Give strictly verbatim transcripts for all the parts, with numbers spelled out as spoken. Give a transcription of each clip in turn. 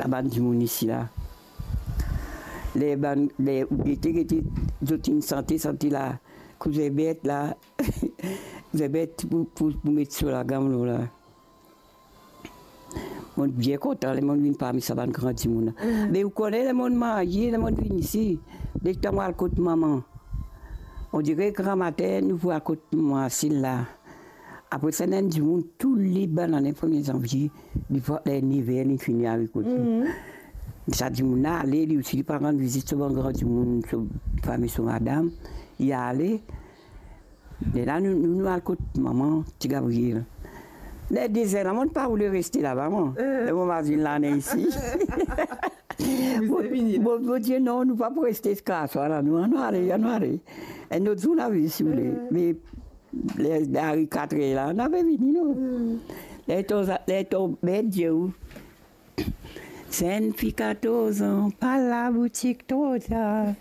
a bann dimoun isi la. Ler bann, ler ou gete, gete, zot inn sante, sante la, kou Zerbet la, Zerbet pou, pou, pou met so lagam lor la. Mo bien kontan ler mo vinn parmi sa bann gran dimoun la. Mm. Me ou kone, ler mo marye, ler mo vinn isi, letan mo al kot mama, on dire gramatin nou pou al kot mama Sil la. Apre sa, ena enn dimoun, toule bann ane premie zanvie, li pou ler nev er, li fini arive kot li. Mm. Sa dimoun la ale, li osi, li pou rann vizit so bann gran dimoun, so fami, so madam, li ale. Lerla nou, nou, nou al kot mama Ti Gabriel. Ler de zer la, mo pa oule reste laba, mwa. Eh. Ler mo mazinn lane isi. Mo, mo, mo dir, non, nou pa pou reste ziska swar la, nou, anou ale, anou ale. Enn lot zour, nou a vini, si ou vle. Eh. Me ler ariv kat er la, nou a pe vini, non. Hmm. Ler to, ler to bet dir ou, Zennfi katorz an, pa al laboutik tro tar.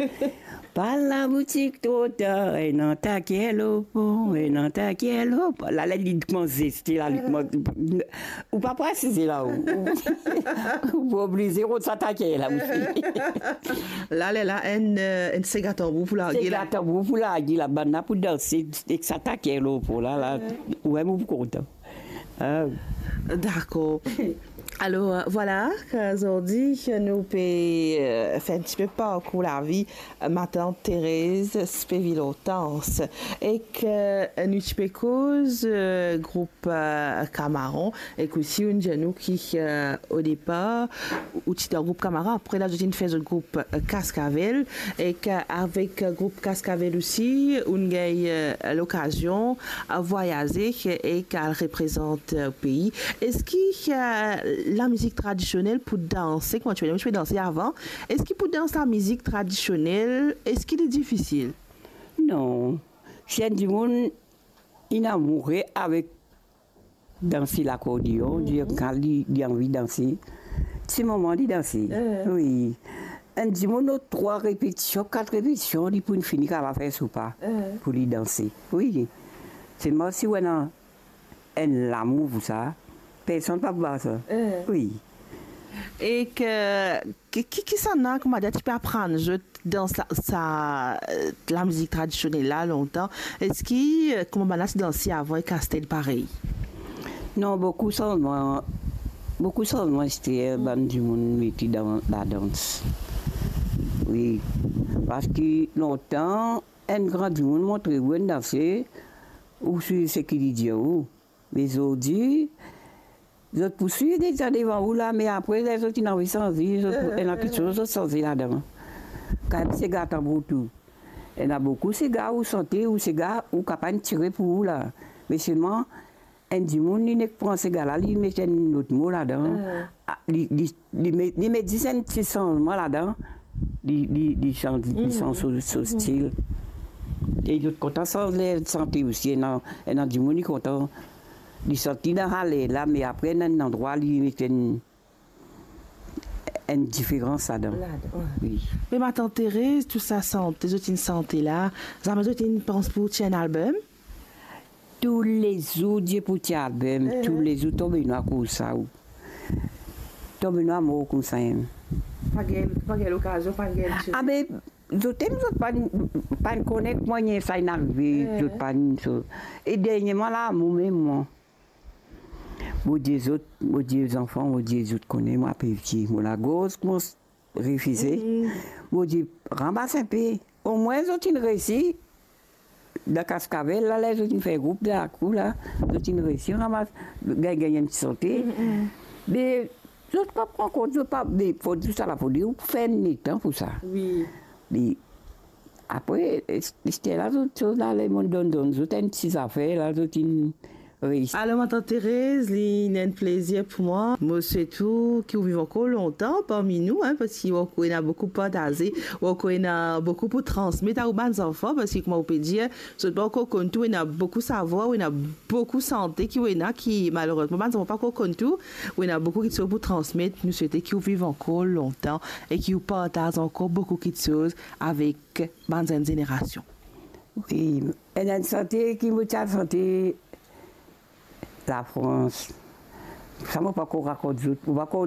Pa al laboutik tro tar, ena taker lor pon, ena taker lor pon. La, la, li koumans zeste la, li koumans, ou pa pou asize la, ou, ou, ou pou oblize rod sa taker la osi. La, lerla, enn, eh, enn sega tanbour pou large la. Sega tanbour pou large la, bann la pou danse ek sa taker lor pon la, la. Ou mem ou pou kontan. Ah. Dakor. Alor, vwala, zordi nou pe, eh, fer enn tipe parkour lavi, eh, matant Thérèse Speville Hortense. Ek, eh, nou ti pe koz, eh, group, eh, Kamaran, ek osi ou inn dir nou ki, eh, o depar, ou ti dan group Kamaran, apre la, zot inn fer zot group, eh, Cascavelle, ek, eh, avek, eh, group Cascavelle osi, ou inn gagn, eh, lokazion a vwayaze ek al reprezant, eh, pei. Eski, eh, lamizik tradisionel pou danse, kouma ti pe, ti pe danse avan, eski pou dans lamizik tradisionel, eski li difisil? Non. Si enn dimoun inn amoure avek danse lakordeon, dir kan li, li anvi danse, se moman li danse. Eh. Wi. Enn dimoun, trwa repetision, kat repetision, li pou fini kapav fer so pa pou li danse. Wi. Selman si ou ena enn lamour pou sa, personn pa pou bat sa. Eh. Wi. Ek, ki, ki, kisannla, koumadir, ti pe aprann zot dans la, sa, eh, lamizik tradisionel la lontan? Eski, eh, kouma bann la ti danse avan, ek aster parey? Non, boukou sanzman, boukou sanzman aster, bann dimoun mete dan ladans. Wi, parski lontan, enn gran dimoun montre ou enn danse, ou swiv seki li dir ou. Me zordi, zot pou swiv deza devan ou la, me apre, ler zot inn anvi sanze, zot pou, ena kiksoz zot sanze ladan. Kan mem sega tanbour tou. Ena boukou sega ou sante, ou sega ou kapav tire pou ou la. Me selman, enn dimoun, li nek pran sega la, li met enn lot mo ladan. Ah, li, li, li met, li met zis enn ti sanzman ladan, li, li, li sanz, li sanz so, so stil. E zot kontan sanz ler sante osi, ena, ena dimoun li kontan, li santi dan sa ler la, me apre ena enn landrwa li met enn, enn diferans ladan. Ladan, wi. Wi. Me matant Thérèse, tou sa sante zot inn sante la, zame zot inn pans pou tir enn album? Toulezour Dieu pou tir album, toulezour tonbe nwar koumsa ou. Tonbe nwar mor koumsa mem. Pa gagn, pa gagn lokazion, pa gagn ti... Ah, me zot mem, zot pa, pa kone kouma sa inn arive, zot pa so. E derniereman la, mo mem, mwa, mo dir zot, mo dir zanfan, mo dir zot kone, mwa pe vie, mo lagorz koumans refize. Mm. Mo dir, ranmas inpe. Omwin zot inn resi, dan Cascavelle la, ler zot inn fer group dan lakour la, zot inn resi ranmas, gagn, gagn enn ti sante. Mm, mm. Me zot pa pran kont, zot pa, me fode, tousala fode ou fer enn letan pou sa. Wi. Me apre, es-, ester la, zot, zot la, lemonn donn, donn zot enn ti zafer la, zot inn reisi. Alor, matant Thérèse, li ena enn plezir pou mwa. Mo swet ou ki ou viv ankor lontan parmi nou, hein, parski ou ankor ena boukou pou partaze, ou ankor ena boukou pou transmet a ou bann zanfan, parski kouma ou pe dir, zot pa ankor konn tou, ou ena boukou savwar, ou ena boukou sante ki ou ena ki, malerezman, bann zanfan pa ankor konn tou, ou ena boukou kiksoz pou transmet. Nou swete ki ou viv ankor lontan e ki ou partaz ankor boukou kiksoz avek bann zenn zenerasion. Wi, ena enn sante ki mo ti al sante Lafrans. Sa mo pa ankor rakont zot, mo pa ankor